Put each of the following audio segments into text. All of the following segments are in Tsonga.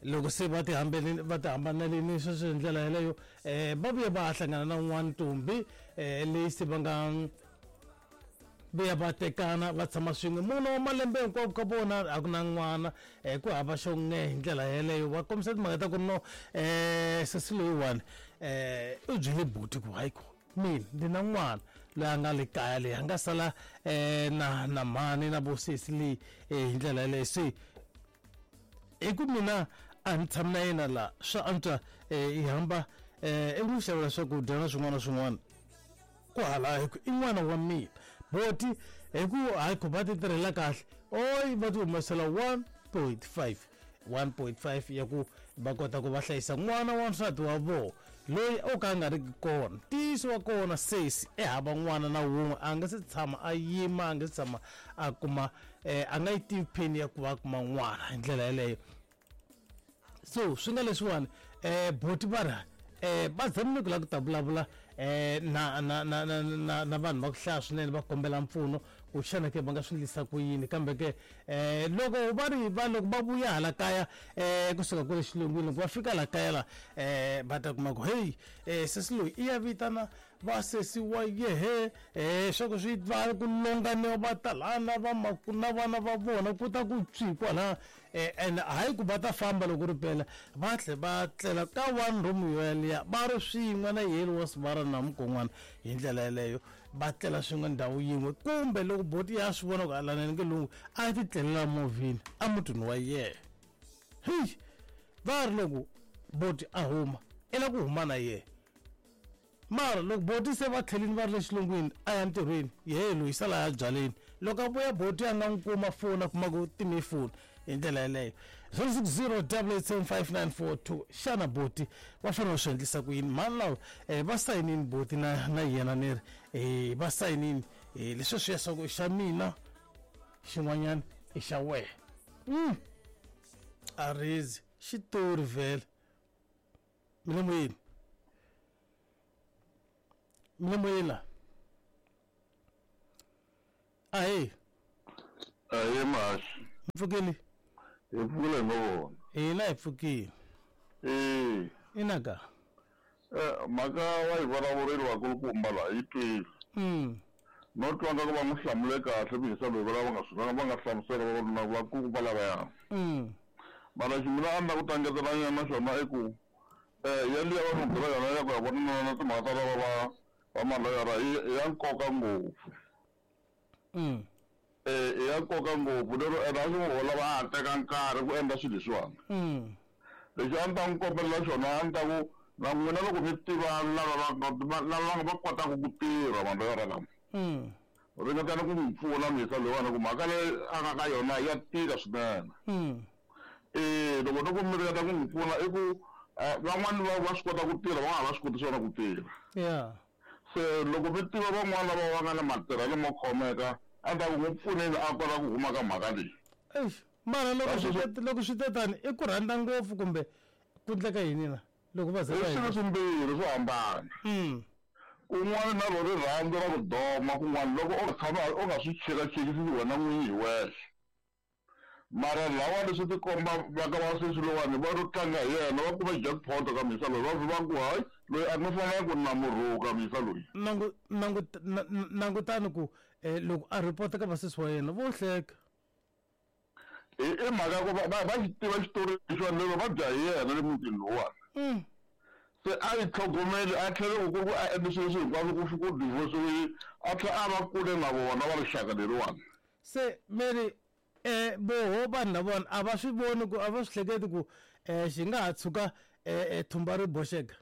Loko se va ti hambelini va ti hambanelini sweswo hi ndlela yeleyo va vuye va ha hlangana na un'wana ntombi leyi se va nga vuya va tekana va tshama swin'we mune wa malembe hinkwavo ka vona a ku na n'wana ku hava xo n'e hi ndlela yeleyo. Va kombisa timhaka ta ku ri no sesi loyiwani u byele buti ku hayi ko mina ndi na n'wana loyi a nga le kaya leyi a nga sala na mhani na vosesi leyi hi ndlela yeleyo. Se hi ku mina a ni tshami na yena la, swa antswa hi hamba i n'wi xavela swakudya na swin'wana na swin'wana ku hala hi ku i n'wana wa mina. Boti hi ku hayi ku va ti tirhela kahle oyi va ti humesela 1.5 ya ku va kota ku va hlayisa n'wana wa nsati wa vona loyi o ka a nga ri ki kona. Ntiyiso wa kona sesi i hava n'wana na wun'we, a nga se tshama a yima, a nga se tshama a kuma a nga yi tivi pheni ya ku va a kuma n'wana hi ndlela yeleyo. So swi nga leswiwani boti va ri va zamile ku lava ku ta vulavula na na na na na na vanhu va ku hlaya swinene va kombela mpfuno ku xana ke va nga swi endlisa ku yini. Kambe ke loko va ri va loko va vuya hala kaya kusuka kwale xilungwini, loko va fika la kaya la va ta kuma ku hey sesi loyi i ya vitana vasesi wa yehe swa ku swi va ku longaniwa va ta lana va na vana va vona ku ta ku tswi kwala and hayi ku va ta famba loko ri pela va tlhe va tlela ka one room yeliya va ri swin'we na yeli wa sivara na mukon'wana hi ndlela yeleyo va tlela swin'we ndhawu yin'we. Kumbe loko boti ya swi vona ku alaneni ke lungu a ti tlelela movheni emutini wa yena. Heyi va ri loko boti a huma i la ku huma na yena, mara loko boti se va tlhelini va ri le xilungwini a ya ntirhweni yehe loyi sala ya byaleni. Loko a vuya boti a nga n'wi kuma foni a kuma ku time foni hi ndlela yeleyo. 060 8875942. Xana boti va fanele va swi endlisa ku yini? Mhani lava va sayinini boti na yena ni ri va sayinini leswi swi ya swa ku i xa mina xin'wanyana i xa wena. A rizi xitori vhele mi le moyeni, mi le moyeni la. Ahee. Ahee Mhaxi. Mpfukile? Hi pfukile hi ngo vona. Hina hi pfukile. Ee. Ina ka. Mhaka wa yi vulavurile vakulukumba laha yi twile. No twa nga ku va n'wi hlamule kahle muyisa loyi va nga swi va nga hlamusela va vakulukumba lavaya. Mara xi mina a ni la ku ta ngetela nyana xona i ku yaliya va n'wi byela yona ya ku ya vona na timhaka ta lava va va maloyara i ya nkoka ngopfu. I ya nkoka ngopfu lero ene a swi ngo lava a ha teka nkarhi ku endla swilo leswiwani. Lexi a ni ta n'wi kombelela xona a ni ta ku na n'wina loko mi tiva lava va lava va kotaka ku tirha maloyara lama, ringetani ku n'wi pfuna muyisa loyiwani ku mhaka leyi a nga ka yona ya tika swinene. Loko no ku mi ringeta ku n'wi pfuna i ku van'wani va swi kota ku tirha van'wana a va swi koti swona ku tirha. Se loko mi tiva van'wana lava va nga na matirhelo mo khomeka a ni ta ku n'wi pfuneni a kota ku huma ka mhaka leyi. Eish, mara loko swi te tani i ku rhandza ngopfu kumbe ku endleka yini na loko va ze va I swilo swimbirhi swo hambana. Kun'wana na ro rirhandzu ra ku doma, kun'wana loko u tshama u nga swi chekachekisi wena n'winyi hi wexe. Mara lawa leswi ti komba va ka va sesi lowani va ro tlanga hi yena va kume jackpot ka muyisa loyi va va ku hayi loyi a nga fanela ku na murhuka muyisa loyi. Nangutani ku loko a report ka vasesi wa yena vo hleka. I mhaka ku va xi tiva xitori lexiwani lero va dya hi yena le mutini lowuwani. Se a yi tlhogomeli a tlhela ku ku a endle swilo leswi hinkwaswo ku fika ku divorce a tlhela a va kule na vona va rixaka leriwani. Se Mary voho vanhu lavona a va swi voni ku a va swi hleketi ku xi nga ha tshuka thumba ri boxeka.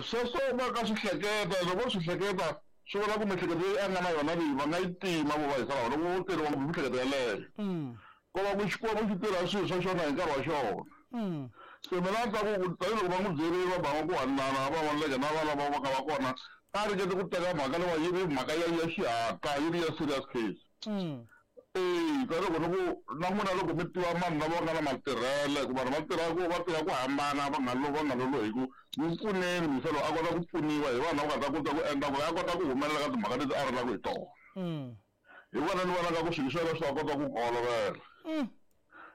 Sweswo va ka swi hleketa, loko swi hleketa swi vula ku miehleketo leyi a nga na yona leyi va nga yi tima vo va hisa lava loko vo teriwa ngopfu miehleketo yeleyo. Ko va ku Xikwembu xi tirha swilo swa xona hi nkarhi wa xona. Se mina a ni ta ku tanihiloko va n'wi byerile va banga ku hanana va voneke na vana va nga va kona a ringete ku teka mhaka leyi yi ri mhaka ya ya xihatla yi ri ya serious case. Tanihiloko ni ku na n'wina loko mi tiva vanhu lava nga na matirhelo hikuva vanhu va tirha ku va tirha ku hambana va nga va nga lolohi ku n'wi pfuneni muyisa loyi a kota ku pfuniwa hi vanhu lava nga ta kota ku endla ku ri a kota ku humelela ka timhaka leti a rilaka hi tona. Hi vona ni vonaka ku swilo swa yena swi ta kota ku n'wi olovela.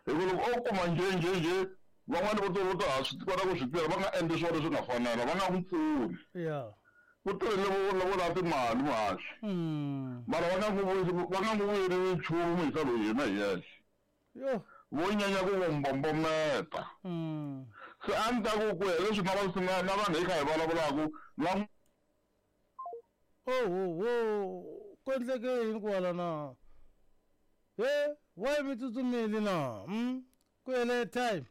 Hi ku loko o kuma njhe njhe njhe Van'wani vo to vo to ha swi kota ku swi tirha va nga endli swona leswi nga fanela, va nga n'wi pfuni. Ya. Ku tirhile vo vo lava timali muhaxi. Mara va nga n'wi vuyisi va nga n'wi vuyeriwi nchumu muyisa loyi yena hi yexe. Yo. Vo nyanya ku n'wi mbombometa. Se a ni ta ku ku ya hi leswi na va na na vanhu hi kha hi vulavulaka va Ohoho ku endleke yini kwala na? He why mi tsutsumile na? Ku hele time.